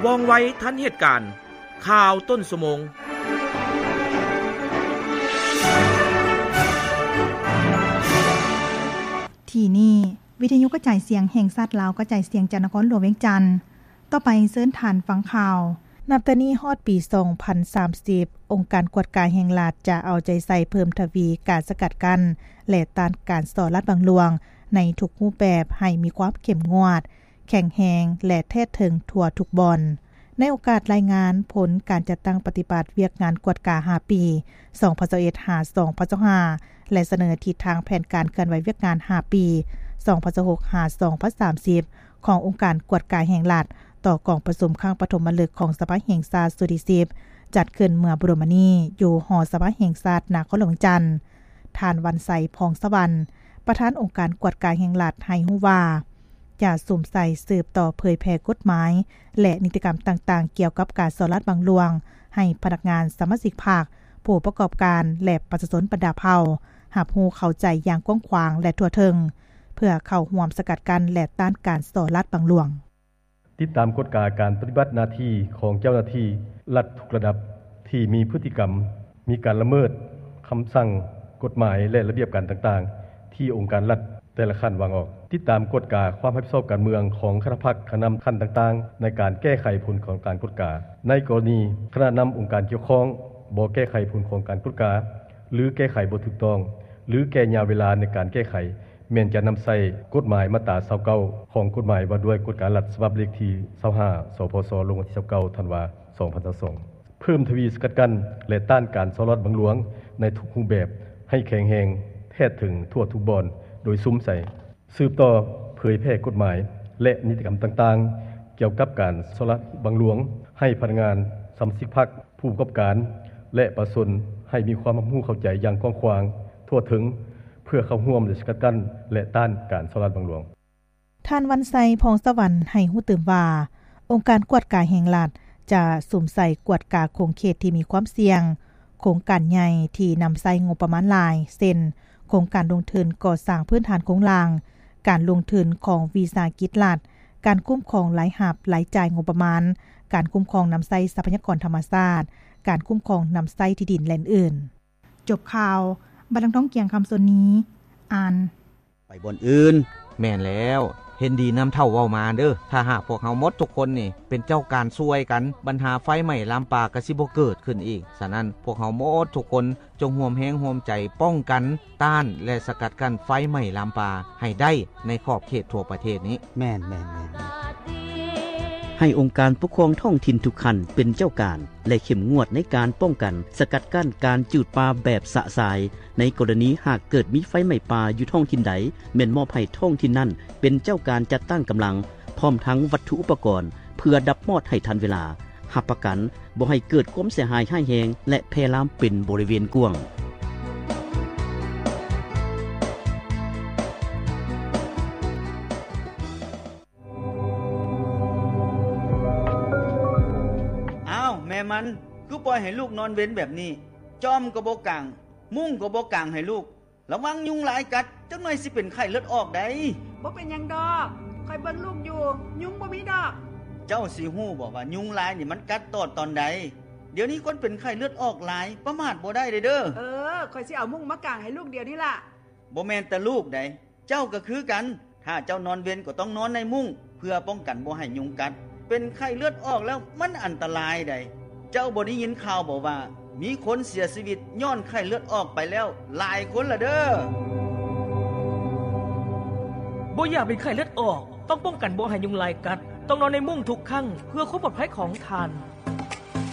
ວ່ອງໄວທັນເຫດການ, ຂ່າວຕົ້ນຊົ່ວໂມງ. ທີ່ນີ້ ວິທະຍຸກະຈາຍສຽງແຫ່ງຊາດລາວ ກະຈາຍສຽງຈາກນະຄອນຫຼວງວຽງຈັນ. ຕໍ່ໄປເຊີນທ່ານຟັງຂ່າວ. ນັບແຕ່ນີ້ຮອດປີສອງພັນສາມສິບ ອົງການກວດກາແຫ່ງລັດຈະເອົາໃຈໃສ່ເພີ່ມທະວີການສະກັດກັ້ນ ແລະ ຕ້ານການສໍ້ລາດບັງຫຼວງໃນທຸກຮູບແບບໃຫ້ມີຄວາມເຂັ້ມງວດ, ແຂງແຮງ ແລະ ແທດເຖິງທົ່ວທຸກບ່ອນ. ໃນໂອກາດລາຍງານຜົນການຈັດຕັ້ງປະຕິບັດວຽກງານກວດກາຫ້າປີ ສອງພັນຊາວເອັດ ຫາ ສອງພັນຊາວຫ້າ ແລະ ສະເໜີທິດທາງແຜນການເຄື່ອນໄຫວວຽກງານຫ້າປີ ສອງພັນຊາວຫົກ ຫາ ສອງພັນສາມສິບ ຂອງອົງການກວດກາແຫ່ງລັດ ຕໍ່ກອງປະຊຸມຄັ້ງປະຖົມມະລຶກຂອງສະພາແຫ່ງຊາດຊຸດທີສິບ ຈັດຂຶ້ນເມື່ອບໍ່ດົນມານີ້ຢູ່ຫໍສະພາແຫ່ງຊາດນະຄອນຫຼວງວຽງຈັນ. ທ່ານ ວັນໄຊ ພອງສະຫວັນ ປະທານອົງການກວດກາແຫ່ງລັດ ໃຫ້ຮູ້ວ່າ ຈະສຸມໃສ່ສືບຕໍ່ເຜີຍແຜ່ກົດໝາຍ ແລະ ນິຕິກຳຕ່າງໆ ກ່ຽວກັບການສໍ້ລາດບັງຫຼວງ ໃຫ້ພະນັກງານ, ສະມາຊິກພັກ, ຜູ້ປະກອບການ ແລະ ປະຊາຊົນບັນດາເຜົ່າ ຮັບຮູ້ເຂົ້າໃຈຢ່າງກວ້າງຂວາງ ແລະ ທົ່ວເຖິງ ເພື່ອເຂົ້າຮ່ວມສະກັດກັ້ນ ແລະ ຕ້ານການສໍ້ລາດບັງຫຼວງ. ຕິດຕາມກວດກາການປະຕິບັດໜ້າທີ່ຂອງເຈົ້າໜ້າທີ່ລັດທຸກລະດັບ ທີ່ມີພຶດຕິກຳມີການລະເມີດຄຳສັ່ງ, ກົດໝາຍ ແລະ ລະບຽບການຕ່າງໆ ທີ່ອົງການລັດແຕ່ລະຂັ້ນວາງອອກ. ຕິດຕາມກວດກາຄວາມຮັບຜິດຊອບການເມືອງຂອງຄະນະພັກ, ຄະນະນຳຂັ້ນຕ່າງໆ ໃນການແກ້ໄຂຜົນຂອງການກວດກາ. ໃນກໍລະນີຄະນະນຳອົງການກ່ຽວຂ້ອງບໍ່ແກ້ໄຂຜົນຂອງການກວດກາ ຫຼື ແກ້ໄຂບໍ່ຖືກຕ້ອງ ຫຼື ແກ່ຍາວເວລາໃນການແກ້ໄຂ, ແມ່ນຈະນຳໃຊ້ກົດໝາຍມາດຕາຊາວເກົ້າ ຂອງກົດໝາຍວ່າດ້ວຍກວດກາລັດ ສະບັບເລກທີຊາວຫ້າ ສພຊ ລົງວັນທີຊາວເກົ້າ ທັນວາ ສອງພັນຊາວສອງ ເພີ່ມທະວີສະກັດກັ້ນ ແລະ ຕ້ານການສໍ້ລາດບັງຫຼວງໃນທຸກຮູບແບບ ໃຫ້ແຂງແຮງ, ແທດເຖິງທົ່ວທຸກບ່ອນ ໂດຍສຸມໃສ່ ສືບຕໍ່ເຜີຍແຜ່ກົດໝາຍ ແລະ ນິຕິກຳຕ່າງໆ ກ່ຽວກັບການສໍ້ລາດບັງຫຼວງ ໃຫ້ພະນັກງານ, ສະມາຊິກພັກ, ຜູ້ປະກອບການ ແລະ ປະຊາຊົນ ໃຫ້ມີຄວາມຮັບຮູ້ເຂົ້າໃຈຢ່າງກວ້າງຂວາງ, ທົ່ວເຖິງ ເພື່ອເຂົ້າຮ່ວມ ແລະ ສະກັດກັ້ນ ແລະ ຕ້ານການສໍ້ລາດບັງຫຼວງ. ທ່ານ ວັນໄຊ ພອງສະຫວັນ ໃຫ້ຮູ້ຕື່ມວ່າ ອົງການກວດກາແຫ່ງລັດ ຈະສຸມໃສ່ກວດກາຂົງເຂດທີ່ມີຄວາມສ່ຽງ, ໂຄງການໃຫຍ່ທີ່ນຳໃຊ້ງົບປະມານຫຼາຍ ເຊັ່ນ ໂຄງການລົງທຶນກໍ່ສ້າງພື້ນຖານໂຄງລ່າງ, ການລົງທຶນຂອງວິສາຫະກິດລັດ, ການຄຸ້ມຄອງລາຍຮັບ, ລາຍຈ່າຍງົບປະມານ, ການຄຸ້ມຄອງນຳໃຊ້ຊັບພະຍາກອນທຳມະຊາດ, ການຄຸ້ມຄອງນຳໃຊ້ທີ່ດິນ ແລະ ອື່ນໆ. ຈົບຂ່າວ. ບັດນາງທອງກຽງ ຄຳສົນນີ ອ່ານ. ໄປບ່ອນອື່ນ. ແມ່ນແລ້ວ, ເຫັນດີນຳເຖົ້າເວົ້າມາເດີ້. ຖ້າຫາກພວກເຮົາໝົດທຸກຄົນນີ້ເປັນເຈົ້າການຊ່ວຍກັນ, ບັນຫາໄຟໄໝ້ລາມປ່າກໍຊິບໍ່ເກີດຂຶ້ນອີກ. ສະນັ້ນ, ພວກເຮົາໝົດທຸກຄົນຈົ່ງຮ່ວມແຮງຮ່ວມໃຈປ້ອງກັນ, ຕ້ານ ແລະ ສະກັດກັ້ນໄຟໄໝ້ລາມປ່າໃຫ້ໄດ້ໃນຂອບເຂດທົ່ວປະເທດນີ້. ແມ່ນ, ແມ່ນ, ແມ່ນ. ໃຫ້ອົງການປົກຄອງທ້ອງຖິ່ນທຸກຂັ້ນເປັນເຈົ້າການ ແລະ ເຂັ້ມງວດໃນການປ້ອງກັນ, ສະກັດກັ້ນການຈູດປ່າແບບຊະຊາຍ. ໃນກໍລະນີຫາກເກີດມີໄຟໄໝ້ປ່າຢູ່ທ້ອງຖິ່ນໃດ, ແມ່ນມອບໃຫ້ທ້ອງຖິ່ນນັ້ນເປັນເຈົ້າການຈັດຕັ້ງກຳລັງ ພ້ອມທັງວັດຖຸອຸປະກອນ ເພື່ອດັບມອດໃຫ້ທັນເວລາ, ຮັບປະກັນບໍ່ໃຫ້ເກີດຄວາມເສຍຫາຍຮ້າຍແຮງ ແລະ ແຜ່ລາມເປັນບໍລິເວນກວ້າງ. ອ້າວ ແມ່ມັນ ຄືປ່ອຍໃຫ້ລູກນອນເວັນແບບນີ້? ຈ້ອມກໍບໍ່ກາງ, ມຸ້ງກໍບໍ່ກາງໃຫ້ລູກ. ລະວັງຍຸງລາຍກັດ, ຈັກໜ່ອຍຊິເປັນໄຂ້ເລືອດອອກໃດ໋. ບໍ່ເປັນຫຍັງດອກ, ຂ້ອຍເບິ່ງລູກຢູ່, ຍຸງບໍ່ມີດອກ. ເຈົ້າຊິຮູ້ບໍ່ວ່າຍຸງລາຍນີ້ມັນກັດຕອດຕອນໃດ? ດຽວນີ້ຄົນເປັນໄຂ້ເລືອດອອກຫຼາຍ, ປະໝາດບໍ່ໄດ້ເດີ້. ເອີ, ຂ້ອຍຊິເອົາມຸ້ງມາກາງໃຫ້ລູກດຽວນີ້ລະ. ບໍ່ແມ່ນແຕ່ລູກໃດ໋, ເຈົ້າກໍຄືກັນ. ຖ້າເຈົ້ານອນເວັນກໍຕ້ອງນອນໃນມຸ້ງ ເພື່ອປ້ອງກັນບໍ່ໃຫ້ຍຸງກັດ. ເປັນໄຂ້ເລືອດອອກແລ້ວມັນອັນຕະລາຍໃດ໋. ເຈົ້າບໍ່ໄດ້ຍິນຂ່າວບໍ່ວ່າ ມີຄົນເສຍຊີວິດຍ້ອນໄຂ້ເລືອດອອກໄປແລ້ວຫຼາຍຄົນລະເດີ້. ບໍ່ຢາກເປັນໄຂ້ເລືອດອອກ, ຕ້ອງປ້ອງກັນບໍ່ໃຫ້ຍຸງລາຍກັດ, ຕ້ອງນອນໃນມຸ້ງທຸກຄັ້ງ ເພື່ອຄວາມປອດໄພຂອງທ່ານ.